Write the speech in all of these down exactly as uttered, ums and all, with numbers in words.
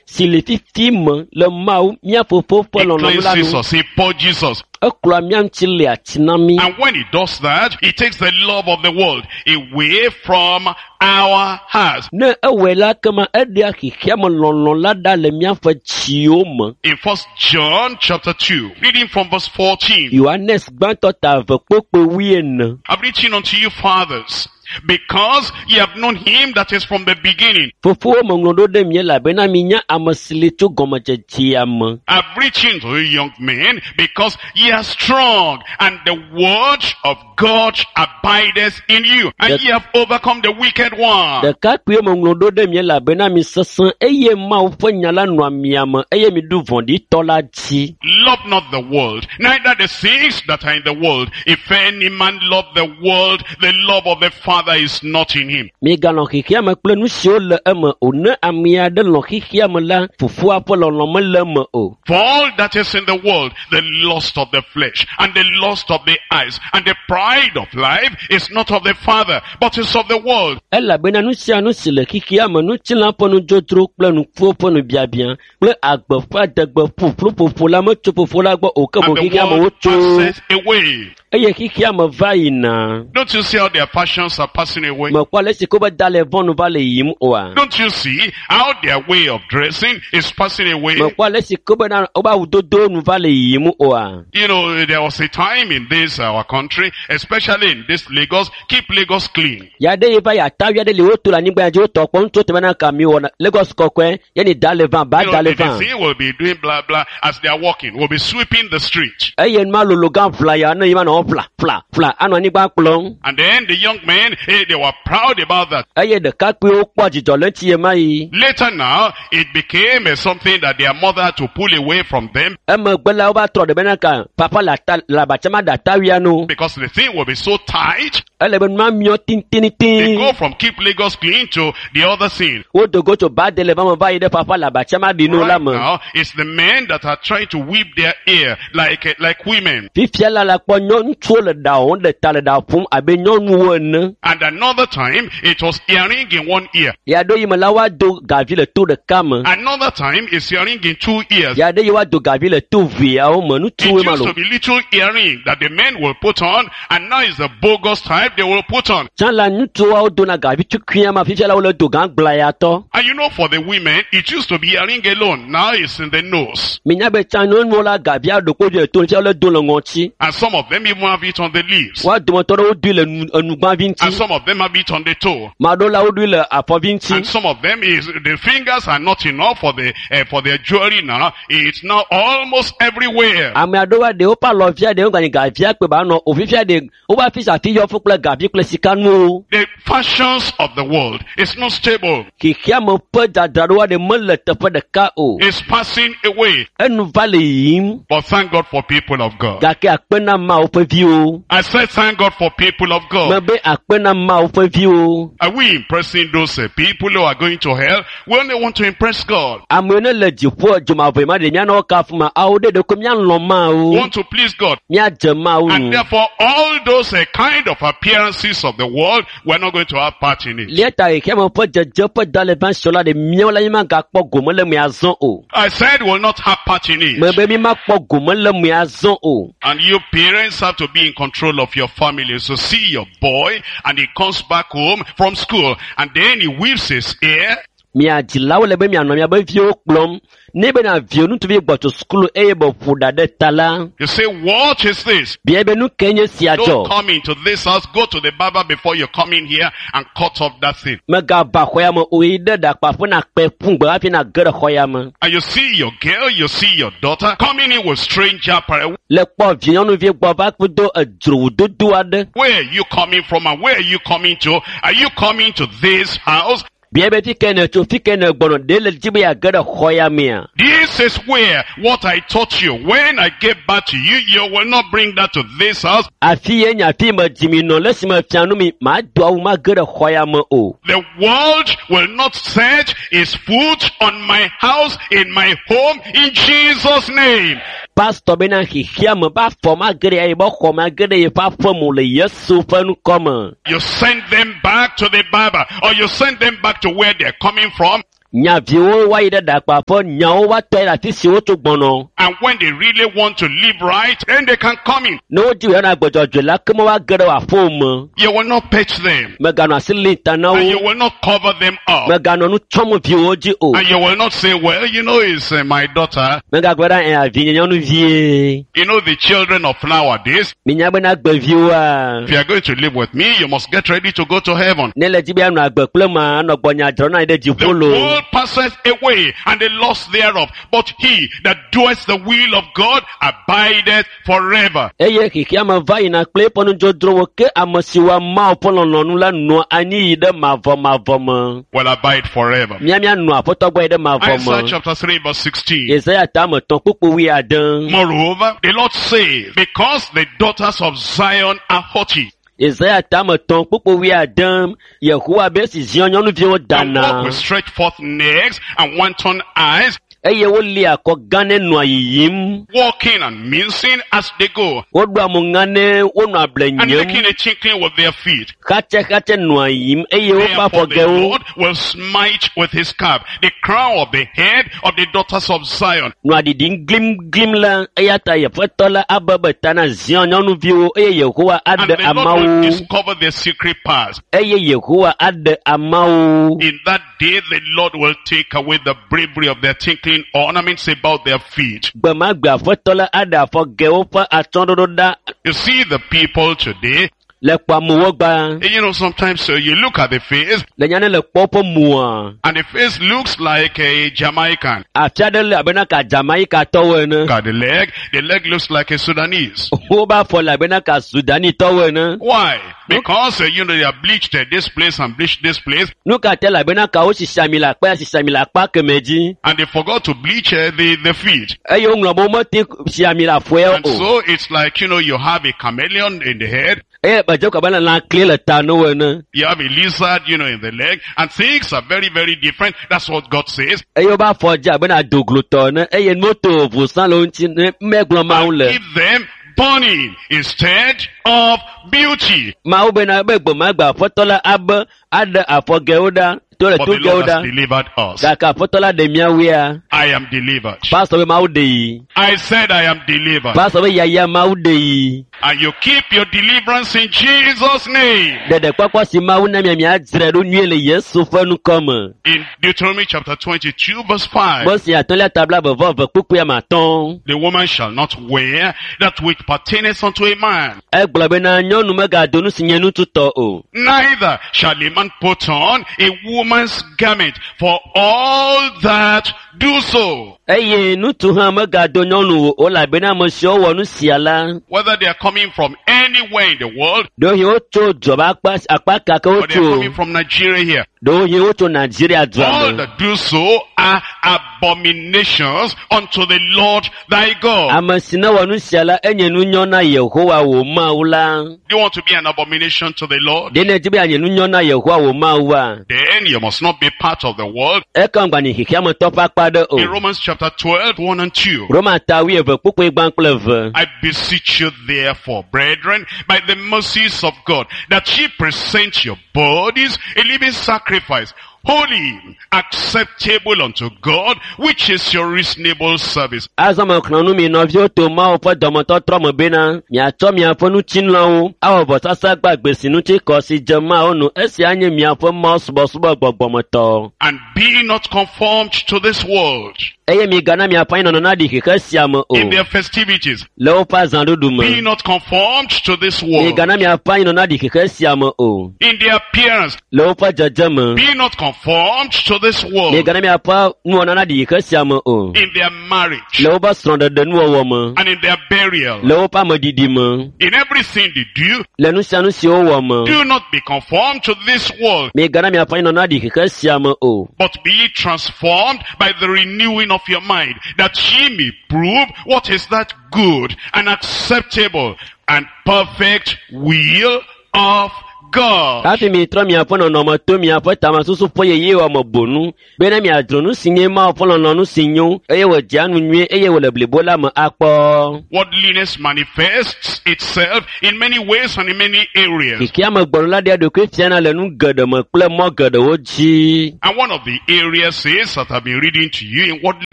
si le fifi me le Mawu mía fofo ƒe He lɔlɔ̃nu la cleanses nu. us, he purges us. Eklɔa mía ŋuti le ati na mí. And when he does that, he takes the love of the world away from our hearts. Ne ewɔe la kema eɖea xexea me lɔlɔ̃ la ɖa le míaƒe dziwo me. In First John chapter two, reading from verse fourteen. Yohanes gbãtɔ ta eve kpokpo wuiene. I've written unto you fathers, because ye have known him that is from the beginning. Fofowo meŋlɔ ɖo ɖe mi elabena minya ame si li tso gɔmedzedzea me. I've written to you young men, because ye are strong, and the word of God abideth in you, and That- ye have overcome the wicked one. Ɖekakpuiwo meŋlɔ ɖo ɖe mi elabena mi sesẽ eye Mawu ƒe nya la nɔa mia me eye miɖu vɔ̃ɖitɔ la dzi. Love not the world, neither the things that are in the world. If any man love the world, the love of the Father is not in him. Migalɔ̃ xexea me kple nu siwo le eme o. Ne ame aɖe lɔ̃ xexea me la, fofoa ƒe lɔlɔ̃ mele eme o. For all that is in the world, the lust of the flesh, and the lust of the eyes, and the pride of life is not of the Father, but is of the world. Elabena nu sia nu si le xexea me, ŋutilã ƒe nudzodzro kple nukuwo ƒe nubiabia kple agbe ƒe adegbe ƒuƒlu ƒoƒo la metso fofo la gbɔ o ke boŋ And the xexea me world wotso passeth away. eye xexea me va yina. Don't you see how their fashions are passing away? Mekpɔ ale si ko be da le vɔnu va le yiyim oa? Don't you see how their way of dressing is passing away? Mekpɔ ale si ko bena wobe awudodo nu va le yiyim oa? You know, there was a time in this our country, especially in this Lagos, keep Lagos clean. Ya ɖe yi va yi atavi aɖe li woto le anyigba ya dzi wotɔ kpɔ ŋutsu te bena ka mi wɔna Lagos kɔkɔe ye ni da le vã ba You da know, le the vã. disease will be doing blah blah as they are walking, will be sweeping the street. Eye nua lolo gã ʋla ya ne yi va nɔ ʋla ʋla ʋla anɔ anyigba kplɔm. And then the young men, eh, they were proud about that. Eye ɖekakpuiwo kpɔ dzidzɔ le ŋuti ɣe ma ɣi. Later now, it became eh, something that their mother had to pull away from them Emegbe la wova trɔ ɖe bena ka papa le ata le abatsama ɖe atawia nu. because the thing will be so tight. Ele be nua miɔ They tititi. go from keep Lagos clean to the other thing. Wodo go tso ba de le va me va yi ɖe papa le abatsama ɖi nu la Right me. now, it's the men that are trying to whip their ear like, eh, like women. Fifia la la kpɔ nyɔ ŋutsuwo le ɖa wɔm ɖe ta le ɖa ƒom abe nyɔnuwo ene. And another time, it was earring in one ear. Ya ɖo yi me la woado gavi le to ɖeka me. Another time, it's earring in two ears. Ya ɖe yi woado gavi le to veawo me. It Ŋutsuwoe ma used lo. to be little earring that the men will put on, and now it's the bogus type they will put on. Tsã la ŋutsuwo dona gavi tukuia ma fifia la wole do gã gblayatɔ. And you know, for the women, it used to be earring alone. Now it's in the nose. Minya be tsã nyɔnuwo la gavia ɖo kpo le to fifia wole do le ŋɔtsi. And some of them even have it on the lips. Woa dometɔ ɖewo doe le nu enugbãvi And ŋuti. some of them have it on the toe. Ma ɖewo la woɖoe le afɔvi And ŋuti. some of them is, the fingers are not enough for the, uh, for their jewelry now. It's now almost everywhere. Ame aɖewoa ɖe woƒe alɔvia ɖe woganyi gavia kpe ba nɔ o fifia ɖe woƒe afi sia afi yɔ fũ kple gavi kple sikanuwo. The fashions of the world is not stable. Xexea me ƒe dzadzraɖoa ɖe mele teƒe ɖeka o. It's passing away. Enu va le yiyim But thank God for people of God. gake akpe na Mawu ƒe viwo. I said thank God for people of God. Mebe akpe na Mawu ƒe viwo. Are we impressing those uh, people who are going to hell? We only want to impress God. Amewo ne le dziƒo dzomavɔe ma ɖe míanɔ wo kafu ma awo ɖe ɖeko míalɔ̃ We Mawu. want to please God. Míadze Mawu And nu. therefore, all those uh, kind of appearances of the world, we're not going to have part in it. Lia ta xexea me ƒe dzedze ƒe da le va sɔ la ɖe míawo la mímagakpɔ gome le me azɔ o. I said we'll not have part in it. Mebe mímakpɔ gome le me azɔ o. And you parents have to be in control of your family. So see your boy and he comes back home from school and then he whips his ear Mia dzilawo le be mianɔ miabe viwo kplɔm. Ne bena viwo ŋutsuvi gbɔ tso sukulu eye be ƒo ɖa ɖe ta la, You say, what is this? bia be nu ke nye sia Don't dzɔ. come into this house. Go to the barber before you come in here and cut off that thing. Megava xɔ ya me o yi ɖe ɖakpaƒe na kpe ƒu gbe hafi na ge ɖe xɔ ya me. And you see your girl, you see your daughter coming in with strange apparel. Le kpɔ vi nyɔnuvi gbɔ va kpedo edzrowudodo aɖe. Where are you coming from and where are you coming to? Are you coming to this house? Bia be fi ke ne tso fi ke ne gbɔnɔ ɖe le dzi be yeage ɖe xɔ ya mea. This is where what I taught you. When I get back to you, you will not bring that to this house. Afi ye nye afi me dzimi nɔ le esime fia nu mi mado awu mage ɖe xɔ ya me o. The world will not set its foot on my house, in my home, in Jesus' name. Pastor bena xexea me be afɔ mage ɖe yeƒe xɔ mage ɖe yeƒe aƒe me o le Yesu ƒe ŋkɔ me. You send them back to the barber or you send them back to where they're coming from. Nya viwo woayi ɖe ɖakpaƒe, nyawo woatɔ yi ɖe afi si wotso gbɔnɔ. And when they really want to live right, then they can come in. Ne wodi woanɔ agbedzɔdzɔe la, ke me woage ɖe wò aƒewo me. You will not pet them. Mèganɔ asi lim ta na And you wo. will not cover them up. Mèganɔ nu tsɔm viwo dzi o. And you will not say, well, you know, it's uh, my daughter. Mègagblɔ ɖe ɛ avi nye nyɔnuvie. You know, the children of nowadays, Minya bena gbeviwoa. if you are going to live with me, you must get ready to go to heaven. Ne le dzi be anɔ agbe kple ma, anɔ gbɔnya dzrɔ na anyi ɖe The dziƒo loo. world passeth away and the lust thereof, but he that doeth the will of God abideth forever. Eye xexea me va yina kple eƒe nudzodzrowo ke ame si wɔa Mawu ƒe lɔlɔ̃nu la nɔa anyi yi ɖe mavɔmavɔ me. Will abide forever. Mía míanɔ aƒetɔ gbɔ yi ɖe mavɔ Isaiah me. chapter three verse sixteen. Yesaya tame tɔ̃ kpukpu wuiade. Moreover, the Lord says, because the daughters of Zion are haughty, Yesaya tame tɔ̃ kpukpu wuiade. Yehowa be esi Zion nyɔnuviwo and dana walk with stretched forth necks and wanton eyes, eye wolia akɔ gã ne nɔa yiyim. walking and mincing as they go, Woɖoa mo ŋa ne wonɔ able and nyem. making a tinkling with their feet. Xatsɛxatsɛ nɔa yiyim eye woƒe Therefore the afɔgɛwo Lord will smite with his cap the crown of the head of the daughters of Zion, nɔa ɖiɖim glimglim la eya ta Yeƒetɔ la abe ta na Zion nyɔnuviwo eye Yehowa and aɖe the Lord will amawo discover their secret paths. eye Yehowa aɖe amawo. In that day the Lord will take away the bravery of their tinkling ornaments about their feet. Gbe ma gbe Aƒetɔ la aɖe afɔgɛwo ƒe atsyɔ̃ɖoɖo ɖa You see the people today, le kpɔ amewo gba. you know, sometimes uh, you look at the face, Le nya ne le kpɔ woƒe moa, and the face looks like a Jamaican. afi aɖe le abena ka Jamaikatɔwo ene. Look at the leg, the leg looks like a Sudanese. Woƒe afɔ le abena ka Sudanitɔwo ene. Why? Because, uh, you know, they have bleached uh, this place and bleached this place, Nu ka te le abena ka wosisi ami le akpa ya sisi ami le akpa kemɛ dzi. and they forgot to bleach uh, the, the feet. Eye woŋlɔ be womete si ami le afɔe And o. so it's like, you know, you have a chameleon in the head, Eye edze ko abe lã kli le ta na wo ene. you have a lizard, you know, in the leg, and things are very, very different. That's what God says. Eye woƒe afɔ dze abe na doglotɔ ene eye nuto vovo le wo ŋuti ne megblɔ Mawu le. Give them burning instead of beauty. Mawu bena be gbe ma gbe Aƒetɔ la abe aɖe afɔgɛwo ɖa to le But the togɛwo Lord has ɖa. delivered us. Gake Aƒetɔ la ɖe míawoea. I am delivered. Pastor be Mawu ɖe yi. I said I am delivered. Pastor be yaya Mawu ɖe yi. And you keep your deliverance in Jesus' name. Ɖeɖekpɔkpɔ si Mawu na mia miadzrae ɖo nyuie le Yesu ƒe ŋkɔ me. In Deuteronomy chapter twenty-two verse five. Mose atɔ̃lia tabla eve vɔ eve kpukpui ame atɔ̃. The woman shall not wear that which pertaineth unto a man, Egblɔ bena nyɔnu megado nu si nye nututɔ o. neither shall a man put on a woman's garment, for all that do so, Eye ŋutsu hã megado nyɔnu o elabena ame siwo wɔ nu sia la, whether they are coming from anywhere in the world, ɖewohĩ wotso dua ƒe akpa akpa ka ke or they are wotso coming from Nigeria here, ɖewohĩ wotso Nigeria dua all me. that do so are abominations unto the Lord thy God. Ame si ne wɔ nu sia la, enye nunyɔ na Yehowa wò Mawu la. Do you want to be an abomination to the Lord? Ɖe nèdi be yeanye nunyɔ na Yehowa wò Mawua? Then you must not be part of the world. Ekema ŋgbanyi xexeametɔ ƒe akpa aɖe o. In Romans chapter twelve, one and two. Roma ta wuieve kpukpui gbã kple eve. I beseech you therefore, brethren, by the mercies of God, that ye present your bodies a living sacrifice, holy, acceptable unto God, which is your reasonable service. Azɔ mexlẽ nu mi nɔviwo to Mawu ƒe dɔmetɔtrɔ me bena miatsɔ miaƒe ŋutilãwo awɔ vɔsasa gbagbe si ŋuti kɔ si dze Mawu nu. Esia nye miaƒe Mawu subɔsubɔ gbɔgbɔmetɔ. And be not conformed to this world Eye migana miaƒe anyinɔnɔ naɖi xexe sia me o in their festivities. le woƒe azãɖuɖu Be me. not conformed to this world Migana miaƒe anyinɔnɔ naɖi xexe sia me o in their appearance. le woƒe dzedze me. Be not conformed to this world Migana miaƒe nuwɔna naɖi xexe sia me o in their marriage le woƒe srɔ̃ɖeɖe nuwɔwɔ me, and in their burial. le woƒe ameɖiɖi me, In everything they do, le nu sia nu si wowɔ me. do not be conformed to this world, Migana miaƒe anyinɔnɔ naɖi xexe sia me o. but be ye transformed by the renewing of your mind, that ye may prove what is that good and acceptable and perfect will of God. Hafi mitrɔ miaƒe nɔnɔme to miaƒe tamesusu ƒe yeye me bonu bena miadzro nu si nye Mawu ƒe lɔlɔ̃nu si nyo eye wòdzea nu nyuie eye wòle blibo la me akpɔ. Worldliness manifests itself in many ways and in many areas. Xexea me gbɔlo la ɖea ɖokui fiana le nu geɖe me kple mɔ geɖewo dzi. And one of the areas is that I've been reading to you in worldly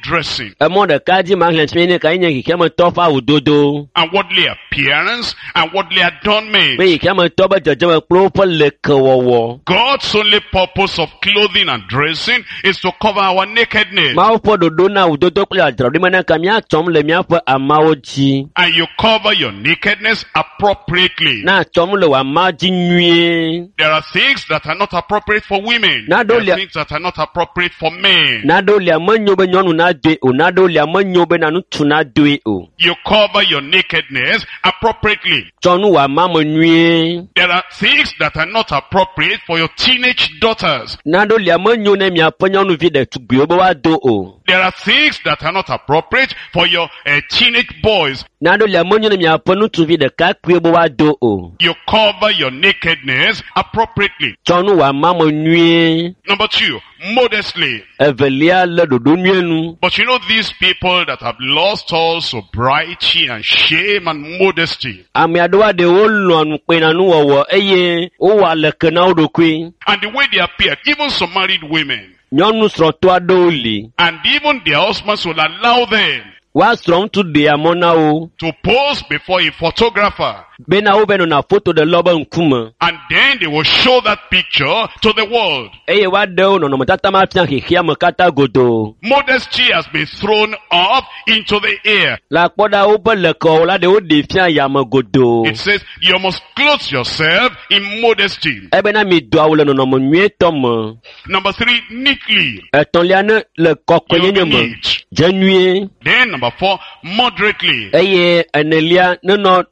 dressing Emɔ ɖeka dzi maxlẽ tsi ne ka nye xexea me tɔ ƒe awudodo and worldly appearance and worldly adornment. be xexea me tɔ be dzedzeme kple woƒe lekewɔwɔ. God's only purpose of clothing and dressing is to cover our nakedness. Mawu ƒe ɖoɖo na awudodo kple adzraɖoɖi me naka míatsɔm le míaƒe amawo dzi. And you cover your nakedness appropriately. Na tsɔm le wò ama dzi nyuie. There are things that are not appropriate for women. Now There don't are lia- things that are not appropriate for men. Naɖewo lia menyo be nyɔnu nadoe o, naɖewo lia menyo be na ŋutsu nadoe o. You cover your nakedness appropriately. Tsɔ nu wò ama me nyuie. There are things that are not appropriate for your teenage daughters. Naɖewo lia menyo ne miaƒe nyɔnuvi ɖetugbiwo be woado o. There are things that are not appropriate for your uh, teenage boys. Naɖewo lia menyo ne miaƒe ŋutsuvi ɖekakpuiwo be woado o. You cover your nakedness appropriately. Tsɔ nu wò ama me nyuie. Number two, modestly. Evelia le ɖoɖo nyuie nu. But you know these people that have lost all sobriety and shame and modesty. Ame aɖewo aɖewo lɔ̃a nukpenanuwɔwɔ eye wowɔa leke na wo ɖokui. And the way they appear, even some married women, Nyɔnu srɔ̃tɔ aɖewo li. and even their husbands will allow them Woa srɔ̃ ŋutsu ɖea mɔ na wo to pose before a photographer. bena wova nɔna foto ɖe lɔ be ŋkume And then they will show that picture to the world. eye woaɖe wo nɔnɔmetata ma fia xexea me katã godoo. Modesty has been thrown up into the air. Le akpɔ ɖa woƒe lekewɔwɔ la ɖe woɖee fia yame godoo. It says you must clothe yourself in modesty. Ebena mido awu le nɔnɔme nyuietɔ me. Number three, neatly. Etɔ̃lia ne le You'll kɔkɔenyenye be me. neat. Dze nyuie Then number four, moderately. eye enelia nenɔ You'll not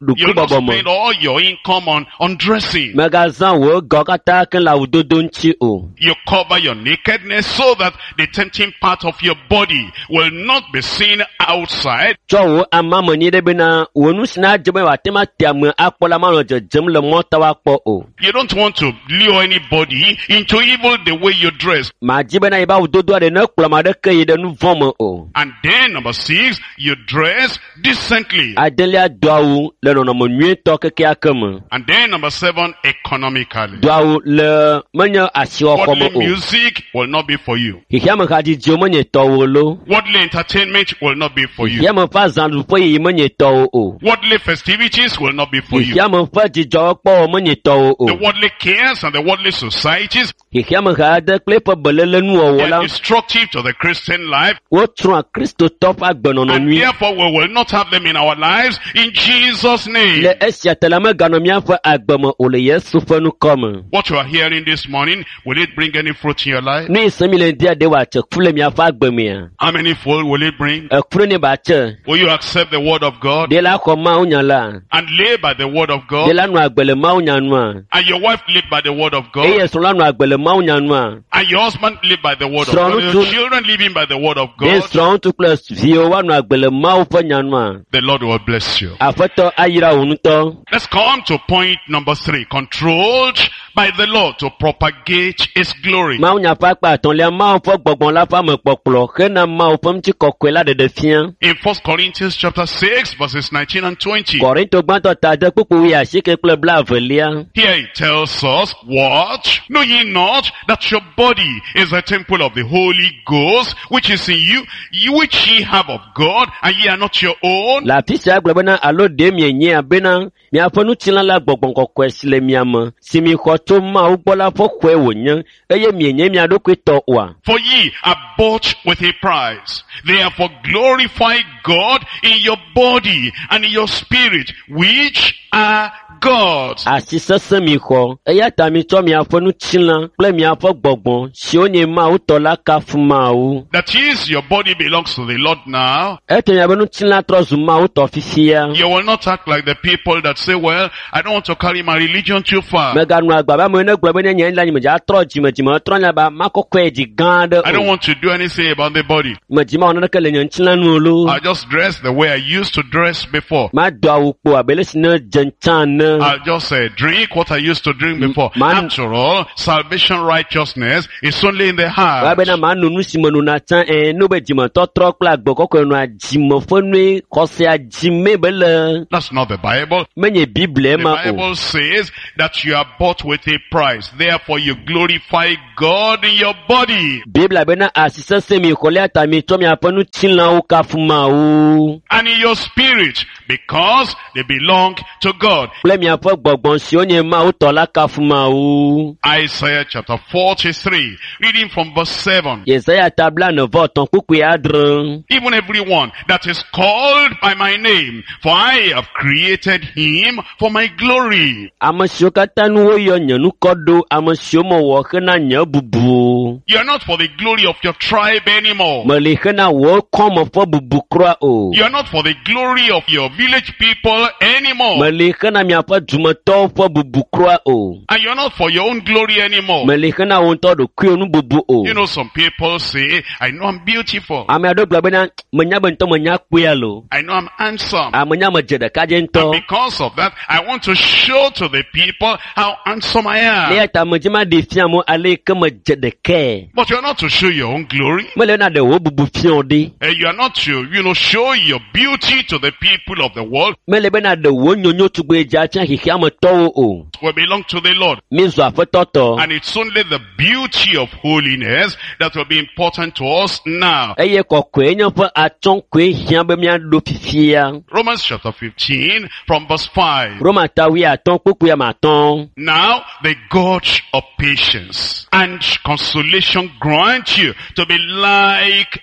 ɖokuibɔbɔ me. spend all your income on, on dressing. Mègazã wò gawo katã ke le awudodo ŋuti o. You cover your nakedness so that the tempting part of your body will not be seen outside. Tsɔ wò amame nyuie ɖe bena wò nu si nadze be wòate ŋu ate ame akpɔ la manɔ dzedzem le mɔta woakpɔ o. You don't want to lure anybody into evil the way you dress. Màdzi bena yiƒe awudodo aɖe nekplɔ ame aɖeke yi ɖe nu vɔ̃ me o. And then number six, you dress decently. Adelia do awu le nɔnɔme nyuietɔ kekeake me. And then number seven, economically. Do awu le menye asiwɔxɔ me Worldly o. music will not be for you. Xexeame hadzidziwo menye tɔwò lo. Worldly entertainment will not be for you. Xexeame ƒe azãɖuƒe yiyi menye tɔwò o. Worldly festivities will not be for you. Xexeame ƒe dzidzɔkpɔwɔ menye tɔwò The o. worldly cares and the worldly societies, Xexeame ha aɖe kple eƒe belelenuwɔwɔ they la, are destructive to the Christian life. wotsrɔ̃a Kristotɔ ƒe agbenɔnɔ And nyui. therefore we will not have them in our lives in Jesus' name. Le esia ta la meganɔ míaƒe agbe me o le Yesu ƒe ŋkɔ me. What you are hearing this morning, will it bring any fruit in your life? Nu yi se mi le ŋdia ɖe wòatse ku le miaƒe agbe mea? How many fold will it bring? Eku ne batse. Will you accept the word of God Ɖe la xɔ Mawu nya la. and live by the word of Ɖe God? la nɔ agbe le Mawu nya nua. And your wife live by the word of God? Eye srɔ̃ la nɔ agbe le Mawu nya nua. And your husband live by the word of God? Srɔ̃ Your ŋutsu- children living by the word of Ɖe God? srɔ̃ ŋutsu kple viwo woanɔ agbe le Mawu ƒe nya nua. The Lord will bless you. Aƒetɔ ayra wò ŋutɔ. Let's come to point number three. Controlled by the Lord to propagate His glory. Mawu nya ƒe akpa atɔ̃lia Mawu ƒe gbɔgbɔ la ƒe amekpɔkplɔ hena Mawu ƒe ŋutikɔkɔe la ɖeɖe fia. In First Corinthians chapter six verses nineteen and twenty. Korinto gbãtɔ ta ade kpukpu wuiasieke kple blaevelia. Here it tells us what? Know ye not that your body is a temple of the Holy Ghost, which is in you, you which ye have of God, and ye are not your own? Le afi sia gblɔ bena alo ɖe mienyea bena miaƒe ŋutilã la gbɔgbɔ kɔkɔe si le mia me si mi xɔ tso Mawu gbɔ la ƒe xɔe wònye eye mienye mia ɖokui tɔ oa. For ye are bought with a price. Therefore glorify God in your body and in your spirit, which are God's. Asi sesẽ mi xɔ eya ta mitsɔ miaƒe ŋutilã kple miaƒe gbɔgbɔ siwo nye Mawu tɔ la kafu Mawu. That is, your body belongs to the Lord now. Ete miaƒe ŋutilã trɔ zu Mawu tɔ fifia. You will not act like the people that say, well, I don't want to carry my religion too far. Meganɔ agbe abe amewo ne gblɔ be ne nye la nye medza trɔ dzime dzime trɔ nya ba makɔkɔe dzi gã aɖe I don't o. want to do anything about the body. Medzi mawɔ naneke le nye ŋutilã nu o loo. I just dress the way I used to dress before. Mado awu kpo abe le si ne dze dze tsã ene. I'll just uh, drink what I used to drink before. Man- After all, salvation righteousness is only in the heart. Wabena ma no nu si me nona tsã ɛ no be dzimetɔtrɔ kple agbe kɔkɔe nɔa dzime ƒe nue xɔsea dzime be le That's not the Bible. menye Biblia The ma o. Bible says that you are bought with a price. Therefore you glorify God in your body Biblia bena asi sese mi xɔlia ta mi tsɔ miaƒe ŋutilãwo kafu Mawu and in your spirit because they belong to God. kple miaƒe gbɔgbɔ siwo nye Mawu tɔ la kafu Mawu. Isaiah chapter forty-three, reading from verse seven. Yesaya ta blaene vɔ etɔ̃ kpukpui adre. Even everyone that is called by my name, for I have created him for my glory. Ame siwo katã nu woyɔ nye ŋkɔ ɖo, ame siwo mewɔ hena nye bubu. You are not for the glory of your tribe anymore. Meli hena wò kɔme ƒe bubu kura o. You are not for the glory of your village people anymore. Meli hena miaƒe dumetɔwo ƒe bubu kura o. And you are not for your own glory anymore. Meli hena wò ŋutɔ ɖokuiwò nu bubu o. You know, some people say, I know I'm beautiful. Ame aɖewo gblɔ bena menya be ŋutɔ menya kpɔe alo. I know I'm handsome. Amenya medze ɖekadze And ŋutɔ. because of that, I want to show to the people how handsome I am. Eya ta medzi ma ɖe fia mo ale yi ke medze ɖekae. But you are not to show your own glory. Mele na ɖe wò bubu fia wo ɖi. Eh, You are not to, you know, show your beauty to the people of the world. Mele bena ɖe wò nyonyo tugbe dza fia xexeametɔwo o. We belong to the Lord. Mi zu aƒetɔ tɔ. And it's only the beauty of holiness that will be important to us now. Eye kɔkɔe nye ƒe atsyɔ̃ koe hiã be míaɖo fifia. Romans chapter fifteen from verse five. Roma ta wuiatɔ̃ kpukpui ame atɔ̃. Now the God of patience and consolation grant you to be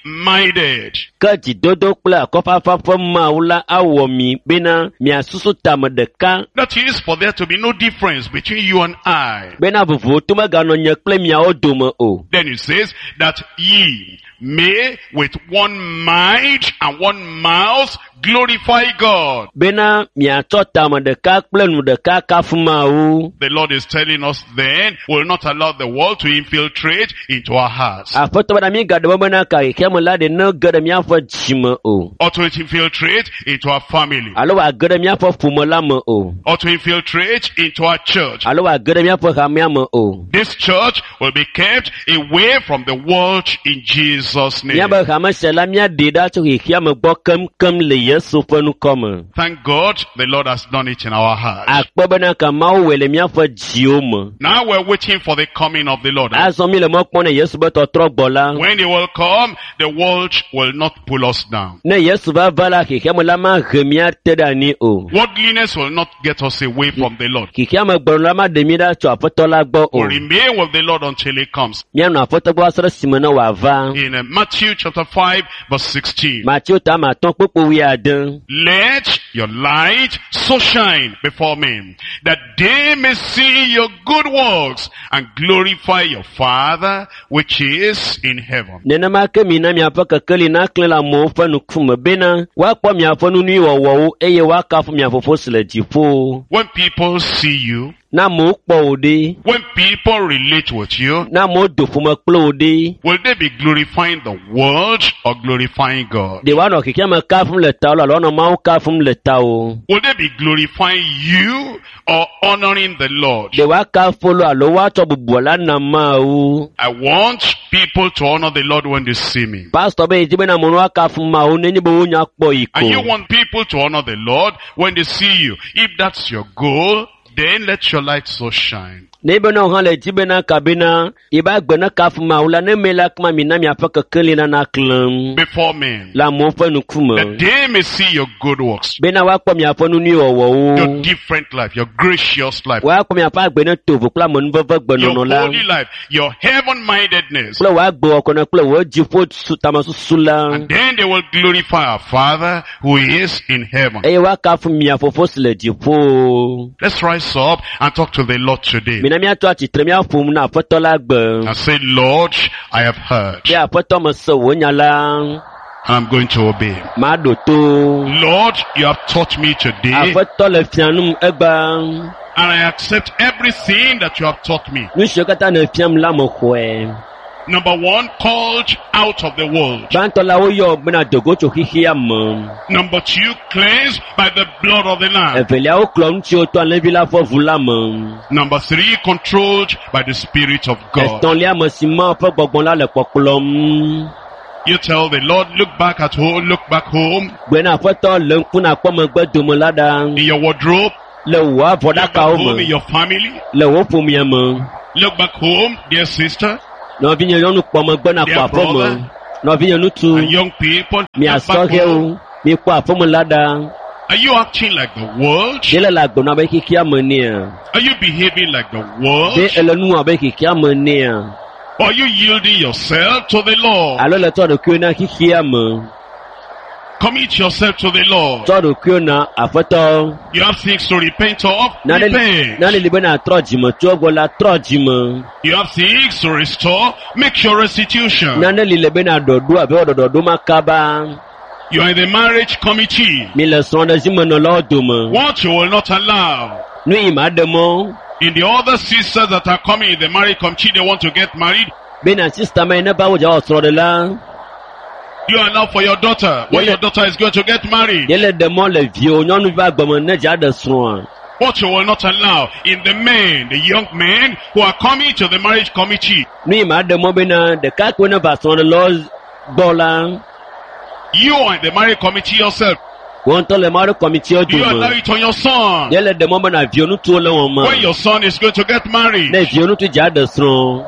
like-minded. Ke dzidodo kple akɔfafa ƒe Mawu la awɔ mi bena miasusu tame ɖeka That is, for there to be no difference between you and I. bena vovoto meganɔ nye kple miawo dome o. Then it says that ye may with one mind and one mouth glorify God. Bena miatsɔ tame ɖeka kple nu ɖeka kafu Mawu. The Lord is telling us then, will not allow the world to infiltrate into our hearts. Aƒetɔ bena mígaɖe mɔ bena ka xexeame la ɖe ne ge ɖe míaƒe dzime o. Or to infiltrate into our family. Alo wòage ɖe míaƒe ƒome la me o. Or to infiltrate into our church. Alo wòage ɖe míaƒe hamea me o. This church will be kept away from the world in Jesus' name. Míabe hame sia la míaɖee ɖa tso xexeame gbɔ keŋkeŋ le Yesu ƒe ŋkɔ me. Thank God the Lord has done it in our hearts. Akpe bena ka Mawu wɔe le míaƒe dziwo me. Now we're waiting for the coming of the Lord. Azɔ mi le mɔ kpɔm ne Yesu be tɔtrɔ gbɔ la. When he will come, the world will not pull us down. Ne Yesu va va la xexeame la mahe mía te ɖe anyi o. Worldliness will not get us away from the Lord. Xexeame gbɔnɔ la maɖe mí ɖa tso Aƒetɔ la gbɔ o. We'll remain with the Lord until he comes. Míanɔ Aƒetɔ gbɔ va se ɖe esime ne wòava. In uh, Matthew chapter five verse sixteen. Mateo ta ame atɔ̃ kpukpui wuiade. Let your light so shine before men, that they may see your good works and glorify your Father which is in heaven. Nenema ke mina miaƒe kekeli naklẽ le amewo ƒe ŋkume bena woakpɔ miaƒe nu nyui wɔwɔwo eye woakafu mia Fofo si le dziƒo. When people see you, Ne amewo kpɔ wò ɖe, when people relate with you, ne amewo do ƒome kple wò ɖe, will they be glorifying the world or glorifying God? ɖe woanɔ xexeame kafum le tawò alo woanɔ Mawu kafum le tawò? Will they be glorifying you or honoring the Lord? Ɖe woakafu lo alo woatsɔ bubu la na Mawu? I want people to honor the Lord when they see me. Pastor be yedi bena amewo woakafu Mawu nenye be wonya kpɔ yi And you ko. want people to honor the Lord when they see you. If that's your goal, then let your light so shine. Ne bena wo hã le dzi bena kabena yebe agbe ne kafu Mawu la ne me la kuma mina miaƒe kekeli la naklẽ Before men. le amewo ƒe ŋkume. That they may see your good works, Bena woakpɔ miaƒe nu nyui your wɔwɔwo. different life, your gracious life, Woakpɔ miaƒe agbe ne tovo kple amenuveve your gbenɔnɔ la. holy life, your heaven-mindedness. Kple wò agbewɔkɔnɔ kple wò dziƒo su tamesusu la. And then they will glorify our Father who is in heaven. Eye woakafu mia Fofo si le dziƒo. Let's rise up and talk to the Lord today. Mina míatɔ atsitre míaƒo nu na Aƒetɔ la gbe. And say, Lord, I have heard Be Aƒetɔ mese wò nya la, and I'm going to obey. maɖo to. Lord, you have taught me today Aƒetɔ le fia num egbea. and I accept everything that you have taught me. Nu siwo katã nèfiam la mexɔe. Number one, called out of the world. Gbãtɔ la woyɔ bena dogo tso xexea me. Number two, cleansed by the blood of the Lamb. Evelia woklɔ ŋutiwo to alẽvi la ƒe ʋu la me. Number three, controlled by the Spirit of God. Etɔ̃lia me si Mawu ƒe gbɔgbɔ la le kpɔkplɔm. You tell the Lord, look back at home, look back home, Gbena aƒetɔ le ŋku nakpɔ megbe dome la ɖa. in your wardrobe, Le wò look back avɔɖakawo home in me. your family, Le wò ƒomea me. look back home, dear sister, Nɔvinye nyɔnu kpɔ megbe nakpɔ Dear aƒeme. brother. Nɔvinye ŋutsu. and young people, look Mia back sɔhɛwo. home. Mikpɔ aƒeme la ɖa. Are you acting like the world? Ɖe le le agbe nɔ abe xexea me nea? Are you behaving like the world? Ɖe ele nu wɔm abe xexea me nea? Or are you yielding yourself to the Lord? Alo le tsɔ ɖokuiwo na xexea me. Commit yourself to the Lord. Tsɔ ɖokuiwo na aƒetɔ. You have things to repent of, Nane repent. nane li bena trɔ dzime tso egbɔ la trɔ dzime. You have things to restore, make your restitution. Nane li le bena ɖɔɖo abe wɔ ɖɔɖɔɖo ma kaba. You are in the marriage committee. Mi le srɔ̃ɖezimenɔlawo dome. What you will not allow. Nu yi ma ɖe mɔ In the other sisters that are coming in the marriage committee, they want to get married. bena sista ma yi ne va wo dza wɔ srɔ̃ɖe la, You allow for your daughter when Yeah. your daughter is going to get married. ye le ɖe mɔ le viwò nyɔnuvi ƒe agbeme ne dza ɖe srɔ̃a. What you will not allow in the men, the young men who are coming to the marriage committee. Nu yi ma ɖe mɔ bena ɖekakpuiwo ne va srɔ̃ɖelawo gbɔ la, You are in the marriage committee yourself. wo ŋutɔ le marriage committeewo You allow dome. it on your son. Ye le ɖe mɔ bena viwò ŋutsuwo le wɔm When your son is going to get married. Ne viwò ŋutsu dza ɖe srɔ̃,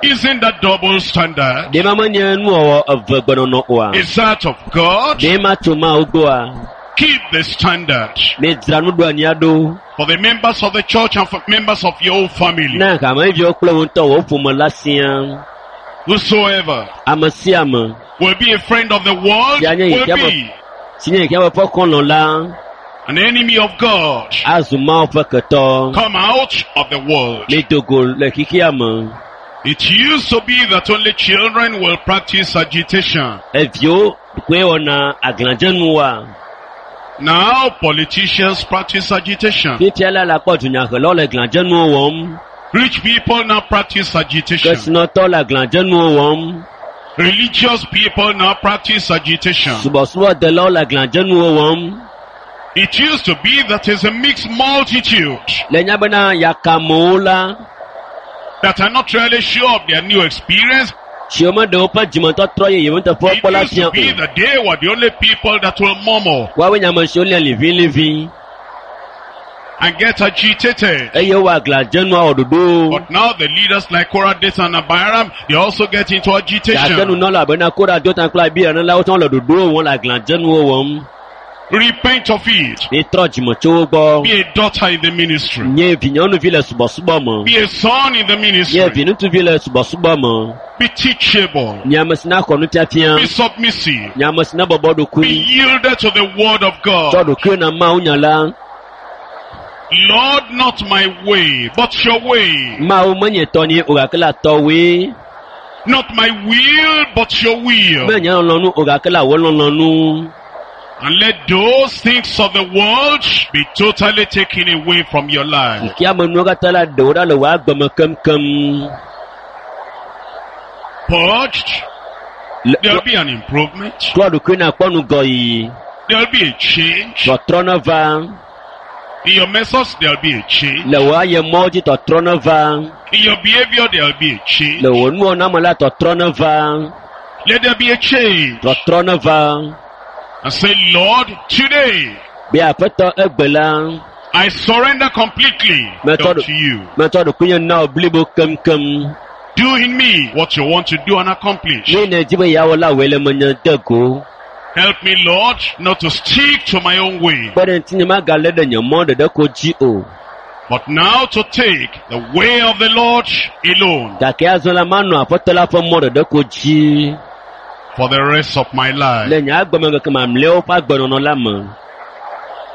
Isn't that double standard? ɖe ma menye nuwɔwɔ eve gbenɔnɔ oa? Is that of God? Ɖe ma tso Mawu gbɔa? Keep the standard Midzra nuɖoanyia ɖo for the members of the church and for members of your own family. na hameviwo kple wo ŋutɔ wò ƒome la siaa. Whosoever Ame sia ame will be a friend of the world Yeah, yeah, will yeah, be si nye xexeame ƒe xɔlɔ̃ la an enemy of God. azu Mawu ƒe ketɔ. Come out of the world. Mido go le xexea me. It used to be that only children will practice agitation. Eviwo koe wɔna aglãdzenuwoa. Now politicians practice agitation. Fifia la le akpɔ dunyahelawo le glãdzenuwo wɔm. Rich people now practice agitation. Kesinɔtɔwo le aglãdzenuwo wɔm. Religious people now practice agitation. Subɔsubɔdelawo le aglãdzenuwo wɔm. It used to be that is a mixed multitude Le nya bena yakamewo la, that are not really sure of their new experience. tsi wo meɖe woƒe dzimetɔtrɔ yeye nuteƒe It kpɔ la used fia to be o. that they were the only people that will murmur Woawoe nye ame siwo lia liʋiliʋi and get agitated. eye wowɔ aglãdzenua wɔ ɖoɖowo. But now the leaders like Korah, Dathan and Abiram, they also get into Gake agitation. nunɔla abena Kora, Dotan kple Abiram la wotsã le ɖoɖowo wɔm le aglãdzenuwo wɔm. Repent of it. Mitrɔ dzime tso wo gbɔ. Be a daughter in the ministry. Nye vinyɔnuvi le subɔsubɔ me. Be a son in the Nye ministry. viŋutsuvi le subɔsubɔ me. Be teachable. Nye ame si na xɔ nufiafia. Be submissive. Nye ame si na bɔbɔ Be ɖokui. yielded to the word of Tsɔ God. ɖokuiwo na Mawu nya la. Lord, not my way, but your way. Mawu menye tɔnye o gake la tɔwoe. Not my will, but your will. Menye lɔlɔ̃nu o gake la wò lɔlɔ̃nu. And let those things of the world be totally taken away from your life. Xexea me nuwo katã la ɖe wo ɖa le wò agbe me keŋkeŋ. Purged, Le- there'll be an improvement. Trɔ ɖokui na kpɔ ŋgɔyiyi. There'll be a change. Tɔtrɔ ne va. In your methods, there'll be a change. Le wò ayemɔwo dzi tɔtrɔ ne va. In your behavior, there'll be a change. Le wò nuwɔna me la tɔtrɔ ne va. Let there be a change. Tɔtrɔ ne va. And say, Lord, today Be aƒetɔ egbe la, I surrender completely Method- unto you. metsɔ ɖokuinye na wò blibo keŋkeŋ. Do in me what you want to do and accomplish. Nu yi nèdi be yeawɔ la wɔe le menye de go. Help me, Lord, not to stick to my own way, Kpe ɖe ŋutinye magalé ɖe nye mɔ ɖeɖe ko dzi o. but now to take the way of the Lord alone Gake azɔ la manɔ aƒetɔ la ƒe mɔ ɖeɖe ko dzi. for the rest of my life. Le nye agbemeŋkeke mamlɛawo ƒe agbenɔnɔ la me.